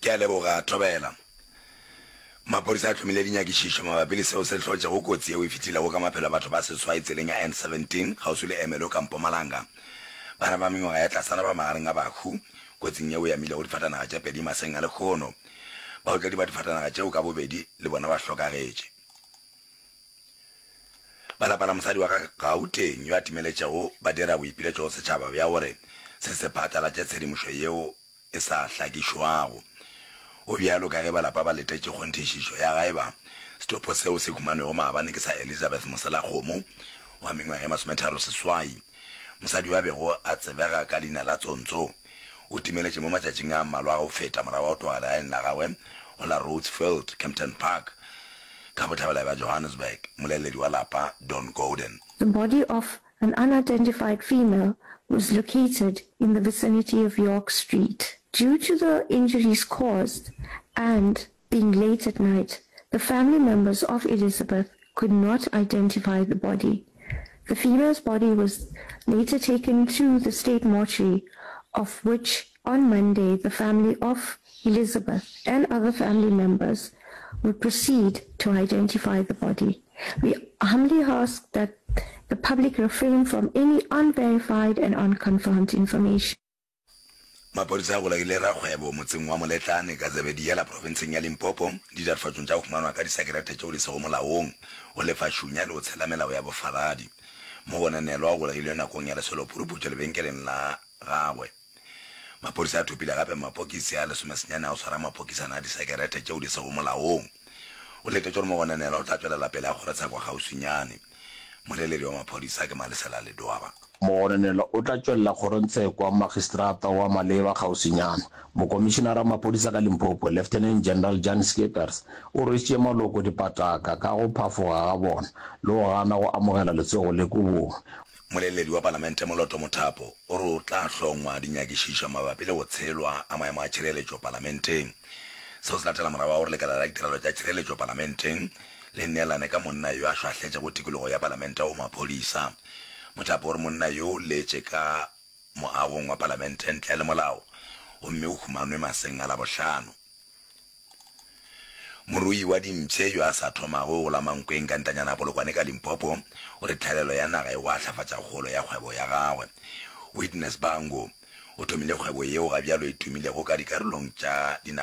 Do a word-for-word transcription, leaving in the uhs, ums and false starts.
Ke a leboga, Thobela. Maphodisa a hlomile dinyakišišo mabapi le seo se hlotšego kotsi yeo e fetilego ka maphelo a batho ba seswai tseleng ya N seventeen kgauswi le Ermelo ka Mpumalanga. Bana ba mengwaga ya tlasana ba magareng a bahu kotsing yeo e amilego difatanaga tše pedi maseng a lehono. Baotledi ba difatanaga tšeo ka bobedi le bona ba hlokagetše. Ba lapa la mosadi wa ka Gauteng yo a timeletšego ba dira boipiletšo go setšhaba bja gore se se phatlalatše tshedimošo yeo e sa hlakišwago. Go bjalo ka ge ba lapa ba letetše kgonthišišo ya ga eba setopo seo se humanwego maabane ke sa Elizabeth Moselakgomo wa mengwaga e masometharo seswai. Mosadi yo a bego a tsebega ka leina la Tsontso o timeletše mo matšatšing a mmalwa a go feta morago ga go tloga legaeng la gagwe go la Rhodesfield, Kempton Park, ka bohlabela bja Johannesburg. Moleledi wa lapa, Don Gordon. The body of an unidentified female was located in the vicinity of York Street. Due to the injuries caused and being late at night, the family members of Elizabeth could not identify the body. The female's body was later taken to the state mortuary, of which on Monday the family of Elizabeth and other family members would proceed to identify the body. We humbly ask that the public refrain from any unverified and unconfirmed information. Maphodisa a golegile rakgwebo motseng wa Moletlane ka Zebediela profenseng ya Limpopo ditatofatšong tša go humanwa ka disekerete tšeo di sego molaong, go lefa šunya le go tshela melao ya bofaladi. Mogononelwa o golegilwe nakong ya lesolo-puruputšo lebenkeleng la gagwe. Maphodisa a thopile gape mapokisi a lesomesenyane a go swara mapokisana a disekerete tšeo di sego molaong. Go letetšwe gore mogononelwa o tla tšwelela pele a kgorotsheko kgauswinyane. Moleledi wa maphodisa ke Malesela Ledwaba. Mogononelwa o tla tšwelela kgorongtsheko wa magistrata wa maleba kgauswinyana. Mokomišinara wa maphodisa ka Limpopo, Lieutenant General Jan Schippers, o rwešitše maloko dipataka ka go phafoga ga bona le go gana go amogela letsogo le kobong. Moleledi wa Palamente Moloto Mothapo o re o tla hlongwa dinyakišišo mabapi le go tshelwa ga maemo a tšhireletšo Palamenteng. Seo se latela morago ga gore lekala la ditirelo tša tšhireletšo Palamenteng le neelane ka monna yo a šwahletšego tikologo ya Palamente go maphodisa. Mothapo o re monna yo o letše ka moagong wa Palamente ntle le molao gomme o humanwe maseng a Labohlano. Morui wa dimpshe yo a sa thomago go la Mankweng ka ntanyana ya Polokwane ka Limpopo o re tlhaelelo ya naga e gwahlafatša kgolo ya kgwebo ya gagwe. Witness Bango o thomile kgwebo yeo ga bjalo e tumilego ka dikarolong tša dinaga